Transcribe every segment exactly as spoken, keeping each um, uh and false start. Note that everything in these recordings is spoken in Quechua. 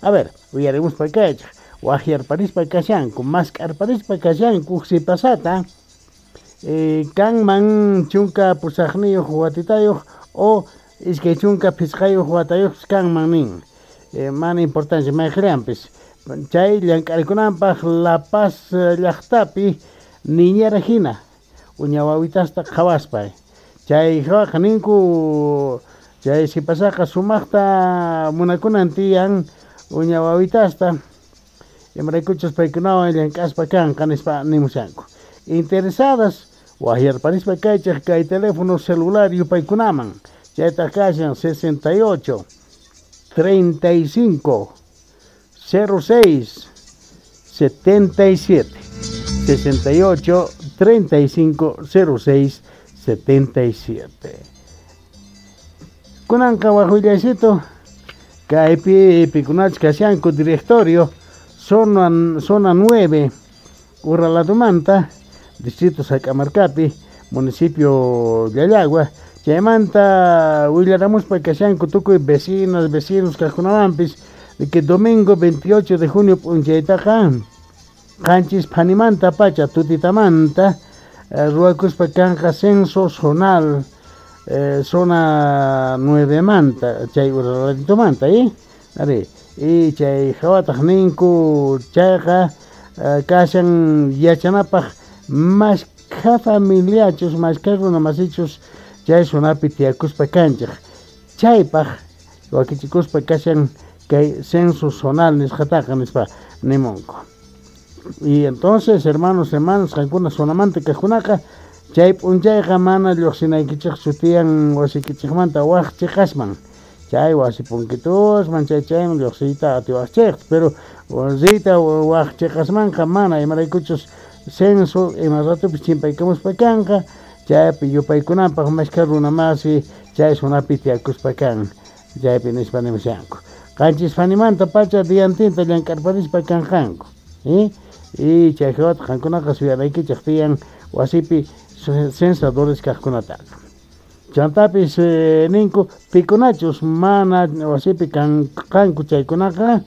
A ver, uyarimuspa kaychik, waqyarparispa kashanku, mask'arparispa kashanku sipasata eh, kanman chunka pusaqniyuq watitayuq o iskay chunka phisqayuq watayuqpis kanman nin. Eh, mana importancia mayqillanpis. Chay llank'arikunanpaq La Paz llaqtapi niñera hina uña wawitasta qhawaspa. Chay hawaqa ninku chay sipasaqa sumaqta munakunan tiyan uña wawitasta imaraykuchus paykunawan llank'aspa kanqa nispa nimushanku. Interesadas waqyarparispa kaychik kay teléfono celular yupaykunaman chaytaq kashan sesenta y ocho treinta y cinco cero seis setenta y siete sesenta y ocho treinta y cinco cero seis setenta y siete. Kunanqa waqwillaycito kaypi pikunachus kashanku directorio zona, zona nueve Uraladomanta distrito Sac'amarcapi municipio Llallagua chaymanta willaramuspa kashanku tukuy vecinas vecinos kaqkunawanpis de que domingo veintiocho de junio p'unchaytaqa qanchis phanimanta pacha tutitamanta eh, ruwakuspa kanqa censo zonal eh, zona nueve manta chay Uraladitomanta eh ari y chay hawataq ninku chayqa eh, kashan yachanapaq mashkha familiachus mashkha runa masichus chay zonapi tiyakuspa kanchik chaypaq wakichikuspa kashan kay censo zonal nisqataqa nispa nimunku. Y entonces, hermanos, hermanas, qankuna zonamanta kaqkunaqa chay p'unchayqa mana lluqsinaykichikchu tiyan wasikichikmanta waq chiqasman chay wasi punkitusman chay chayman lluqsiyta atiwaqchikta pero riyta waq chiqasmanqa mana imaraykuchus censo ima ratupis chimpaykamuspa kanqa chaypi yupaykunanpaq mashkha runa masi chay zonapi tiyakuspa kan chaypi nispa nimushanku. Qanchis phanimanta pacha diantinta llank'arparispa kanqanku. ¿Eh? Y chay hawata qankunaqa suyanaykichik tiyan wasipi censadores kaqkunataqa. Chantapis eh, ninku pikunachus mana wasipi kanqanku chaykunaqa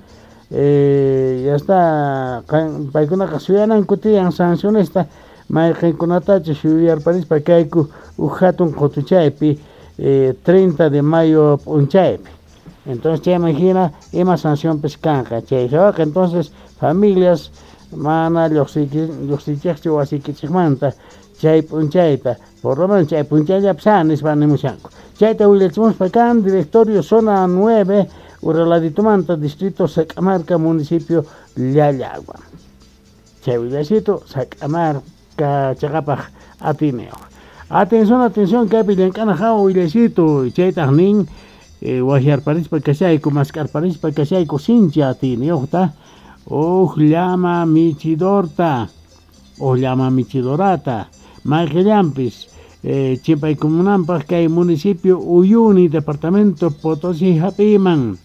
eh, ya está paykunaqa suyananku tiyan sancionesta mayqinkunatachus yuyarparispa kayku uj hatun qutuchaypi eh, treinta de mayo p'unchaypi. Entonces chayman hina ima sancionpis kanqa chay hawaqa entonces familias mana lluqsiychikchu wasikichikmanta chay p'unchayta por lo menos chay p'unchayllapis a nispa nimushanku. Chayta willachimuspa kan directorio zona nueve Uraladitomanta distrito Sac'amarca municipio Llallagua. Chay willacito Sac'amarca chaqapaq atineo. Atención, atención kaypi llank'ana hawa willacito chaytaq nin eh, waqyarparispa kashayku mask'arparispa kashayku sinchi atiniyuqta uj llama michidorta uj llama michidorata mayqillanpis eh, chimpaykumunanpaq kay municipio Uyuni departamento Potosí hap'iyman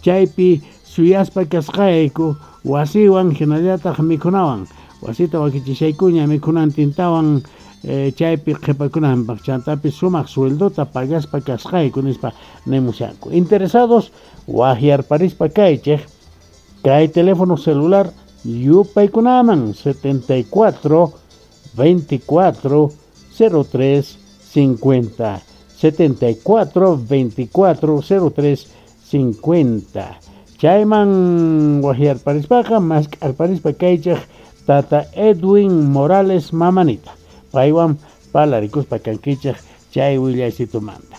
chaypi suyaspa kasqayku wasiwan hinallataq mikhunawan wasita wakichishaykuña mikhunantintawan eh, chaypi qhipakunanpaq chantapis sumaq sueldota pagaspa kasqayku nispa nimushanku. Interesados waqyarparispa kaychik kay teléfono celular yupaykunaman setenta y cuatro veinticuatro cero tres cincuenta setenta y cuatro veinticuatro cero tres cincuenta. Chayman waqyarparispaqa mask'arparispa kaychik tata Edwin Morales mamanita paywan palarikuspa kankichik chay willaysitumanta.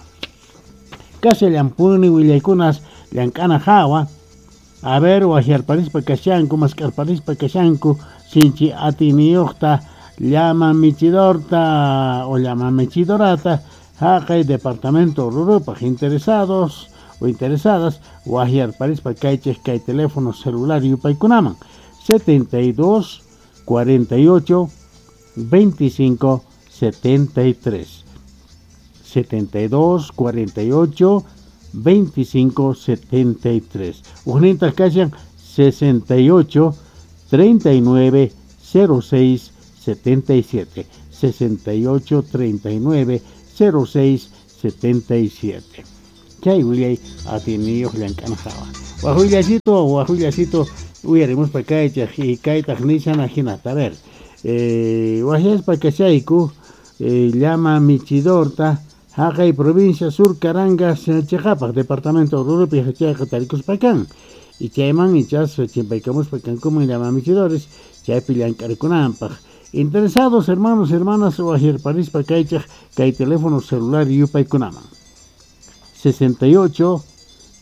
Kashallampuni willaykunas llank'ana hawa. A ver, waqyarparispa kashanku mask'arparispa kashanku sinchi atiniyuqta llama michidorta o llama michidorata haqay departamento Orurupaq interesados o interesadas waqyarparispa kaychik kay teléfono celular yupaykunaman setenta y dos cuarenta y ocho veinticinco setenta y tres setenta y dos cuarenta y ocho veinticinco setenta y tres. Ujnintas kashan sesenta y ocho treinta y nueve cero seis setenta y siete sesenta y ocho treinta y nueve cero seis setenta y siete. Chay willay atiniyuq llank'ana hawa. Waj willasito, waj willasito uyarimuspa kaychaq y kaytaq nishana hinata. A ver, eh, wajyaspa kashayku eh, llama michidorta haqay provincia Sur Carangas chiqapaq departamento Oruropi chayqa tarikuspa kan. Y chayman ichas chimpaykamuspa kankuman llama michidores chaypi llank'arikunanpaq. Interesados hermanos, hermanas, wajyarparispa kaychaq kay teléfono celular yupaykunaman. sesenta y ocho,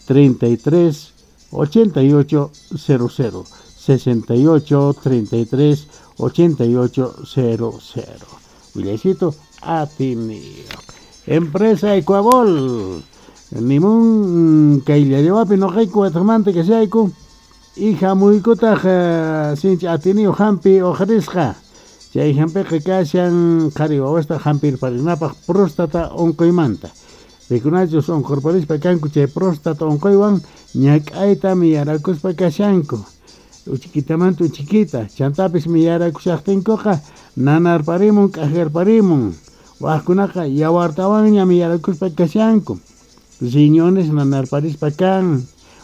treinta y tres, ochenta y ocho, cero cero, sesenta y ocho, treinta y tres, ochenta y ocho, cero cero. Willaycito atiniyo. Empresa Ecuabol. Nimun kayllallawapi noqayku wataqmanta kashayku. Hija muykutaq sinchi atiniyo hampi uqarisqa. Chay hampiqa kashan qhari wawasta hampirparinapaq próstata unquymanta. Pikunachus unqurparispa kanku chay próstata unquywan ñak'ayta miyarakuspa kashanku. Uchikitamanta uchikita, chantapis miyarakushaqtinkuqa nanarparimun k'ajarparimun. Wajkunaqa yawartawanña miyarakuspa kashanku. Riñones nanarparispa kan,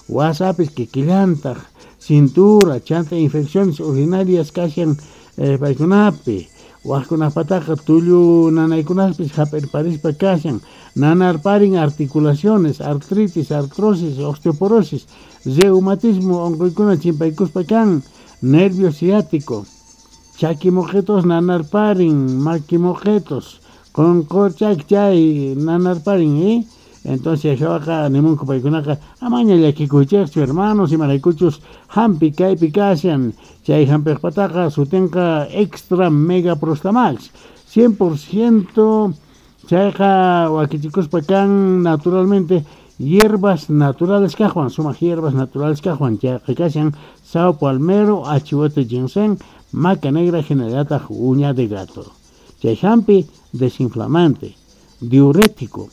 wasapis kikillantaq, cintura, chanta infecciones urinarias kashan eh, paykunapi. Wajkunapataqa tullu nanaykunaspis hap'irparispa kashan, nanarparin articulaciones, artritis, artrosis, osteoporosis, reumatismo unquykuna chimpaykuspa kan, nervio ciático, chakimoqetos nanarparin, makimoqetos, qunqurchak chay nanarparin, ¿eh? Entonces hawaqa nimunku paykunaqa amaña llakikuychikchu hermanos imaraykuchus hampi kaypi kashan chay hampiqpataqa sutinqa extra mega prostamax cien por ciento chayqa wakichikuspa kan naturalmente hierbas naturales kaqwan sumaq hierbas naturales kaqwan chayqa kashan sao palmero, achihuete ginseng, maca negra hinallataq uña de gato. Chay hampi desinflamante, diurético,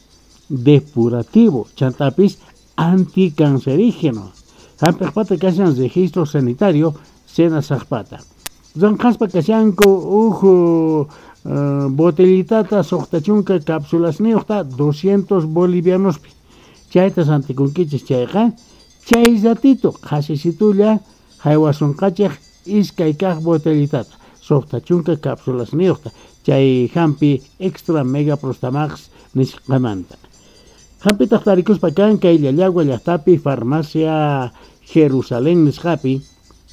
depurativo, chantapis anticancerígeno. Hampiqpata kashan registro sanitario Senasaqpata. Ranqaspa kashanku uj uh, botellitata suqta chunka cápsulasniyuqta doscientos bolivianospi. Chayta santikunkichis chayqa chay ratito qhasisitulla haywasunqachik iskay kaq botellitata suqta chunka cápsulasniyuqta chay hampi extra mega prostamax nisqamanta. Hampitaq tarikuspa kan kay Llallagua llaqtapi farmacia Jerusalén nisqapi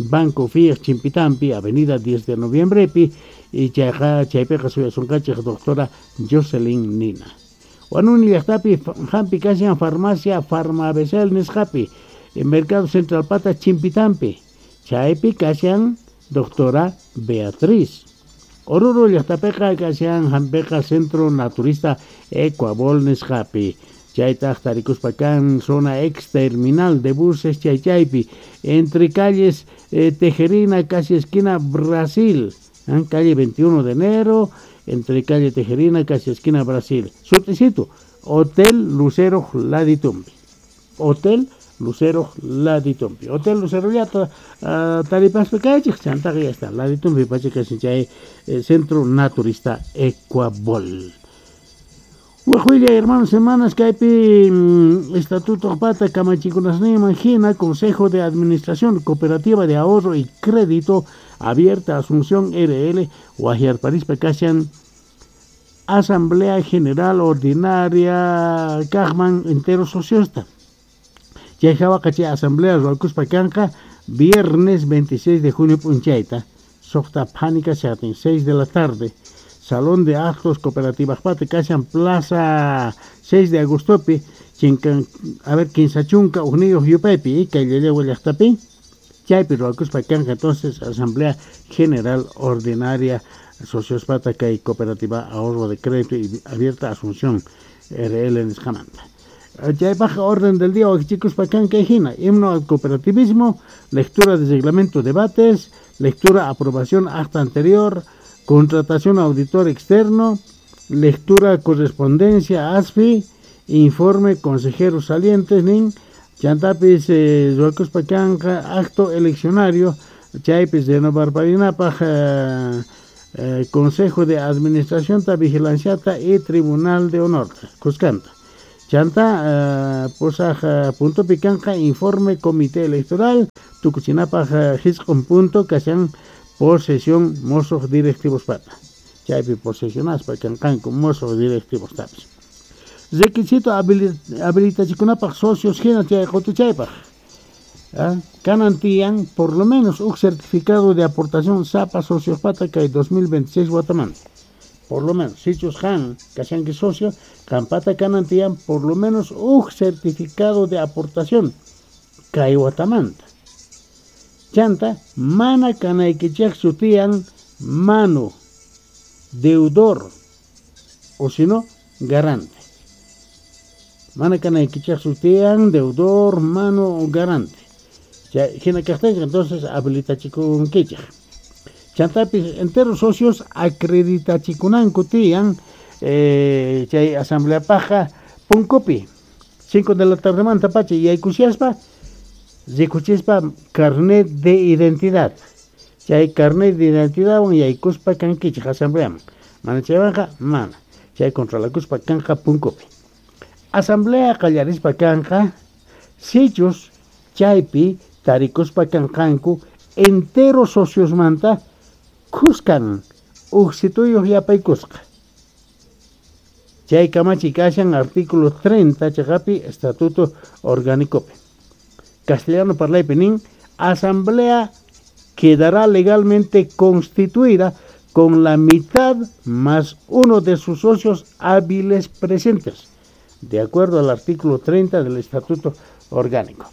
Banco F I A Chimpitampi Avenida diez de Noviembrepi y chayqa chaypiqa suyasunqachik doctora Jocelyn Nina. Huanuni llaqtapi hampi kashan farmacia Farmabesel nisqapi en Mercado Central Pata Chimpitampi chaypi kashan doctora Beatriz. Oruro llaqtapiqa kashan hampiqa Centro Naturista Ecuabol nisqapi. Chaytaq tarikuspa kan zona ex terminal de buses chaychaypi entre calles eh, Tejerina casi esquina Brasil, ¿eh? Calle veintiuno de enero entre calle Tejerina casi esquina Brasil. Suticito, Hotel Lucero Laditumbi. Hotel Lucero Laditumbi. Hotel Lucero ya ta, uh, taripaspa kaychik chantaqa ya está. Laditumbi pacha kashan chay eh, Centro Naturista Ecuabol. Wajuilla, hermanos, hermanas, kaypi mm, Estatuto Pata Kamachikunasniman hina, Consejo de Administración Cooperativa de Ahorro y Crédito Abierta Asunción R L, Guajiarparispa kashan Asamblea General Ordinaria kaqman entero sociosta. Chay hawaqa chay asamblea ruwakuspa kanqa viernes veintiséis de junio p'unchayta, suqta phanika shatin, seis de la tarde. Salón de Actos Cooperativas Pata kashan Plaza seis de Agostopi, chinkan, a ver, kinsa chunka ujniyuq yupaypi, kay Llallagua llaqtapi, chaypi ruwakuspa kanqa entonces Asamblea General Ordinaria Socios Pata kay Cooperativa Ahorro de Crédito y Abierta Asunción R L nisqamanta. Chaypaq orden del día wakichikuspa kan kay hina, himno al cooperativismo, lectura de reglamento, debates, lectura, aprobación acta anterior, contratación auditor externo, lectura correspondencia A S F I, informe consejeros salientes, nin, chantapis eh, ruwakuspa kanqa acto eleccionario, chaypis renovarparinapaq eh, eh, Consejo de Administración ta Vigilanciata y Tribunal de Honor, Cuscanta. Chanta uh, pusaq uh, puntopi kanqa informe comité electoral tukuchinapaq uh, hisq'un punto kashan posesión musuq directivospata. Chaypi posesionaspa kanqanku musuq directivostapis. Requisito habilitachikunapaq socios hina chay qutuchaypaq. ¿Ah? Kanan tiyan por lo menos un certificado de aportación sapa sociospata kay dos mil veintiséis watamanta. Por lo menos, sichus han kashanki socio, kampata kanan tiyan por lo menos un certificado de aportación kay watamanta. Chanta, mana kanaykichaqchu tiyan mano, deudor, o si no, garante. Mana kanaykichaqchu tiyan deudor, mano o garante. Hina kaqtinqa entonces habilitachikunkichaq. Chantapis entero socios acreditachikunanku tiyan eh, chay asamblea paja punkupi cinco de la tardemanta pacha yaykushaspa rikuchispa carnet de identidad. Chay carnet de identidad wan yaykuspa kankichaq asambleaman. Mana chaywanqa mana. Chay controlakuspa kanja punkupi. Asamblea qallarispa kanja sichus chaypi tarikuspa kanqanku entero sociosmanta kuskan uqsituyuq yapaykusqa. Chay kamachi kashan artículo treinta chaqapi estatuto orgánicopi. Castellano parlaypi nin asamblea quedará legalmente constituida con la mitad más uno de sus socios hábiles presentes, de acuerdo al artículo treinta del Estatuto Orgánico.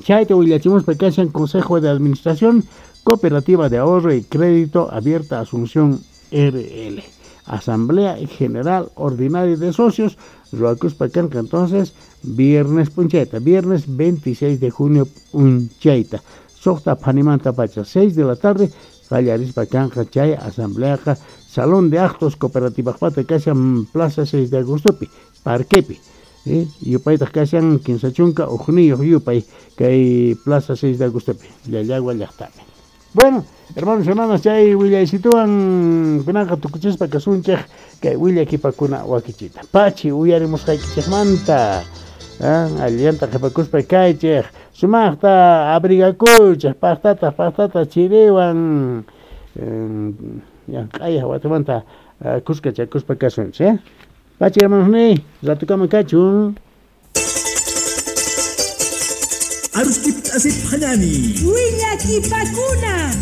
Chayta willachimuspa kashan Consejo de Administración Cooperativa de Ahorro y Crédito Abierta Asunción R L. Asamblea General Ordinaria de Socios, ruwakuspa kanqa entonces viernes punchayta, viernes veintiséis de junio punchayta. Suqta phanimanta pacha, seis de la tarde, qallarispa kanqa chay asambleaqa Salón de Actos Cooperativajpata kashan Plaza seis de Agostopi, Parquepi. Eh, yupaytaq kashan kinsa chunka uqniyuq yupay kay Plaza seis de Agostopi, Llallagua llaqtapi. Bueno, hermanos y hermanas, chay willaysituwan kunanqa tukuchispa kasunchik kay willakipakuna wakichita. Pachi uyarimusqaykichikmanta. Ah, allanta qhipakuspa kaychik, sumaqta abrigakuychik, paqtata paqtata chiriwan llank'ayaq watamanta kuskachakuspa kasunchik, eh? Pachi hermanos ni, ratukama kachun. Aruskip asip hanani. Willakipakuna.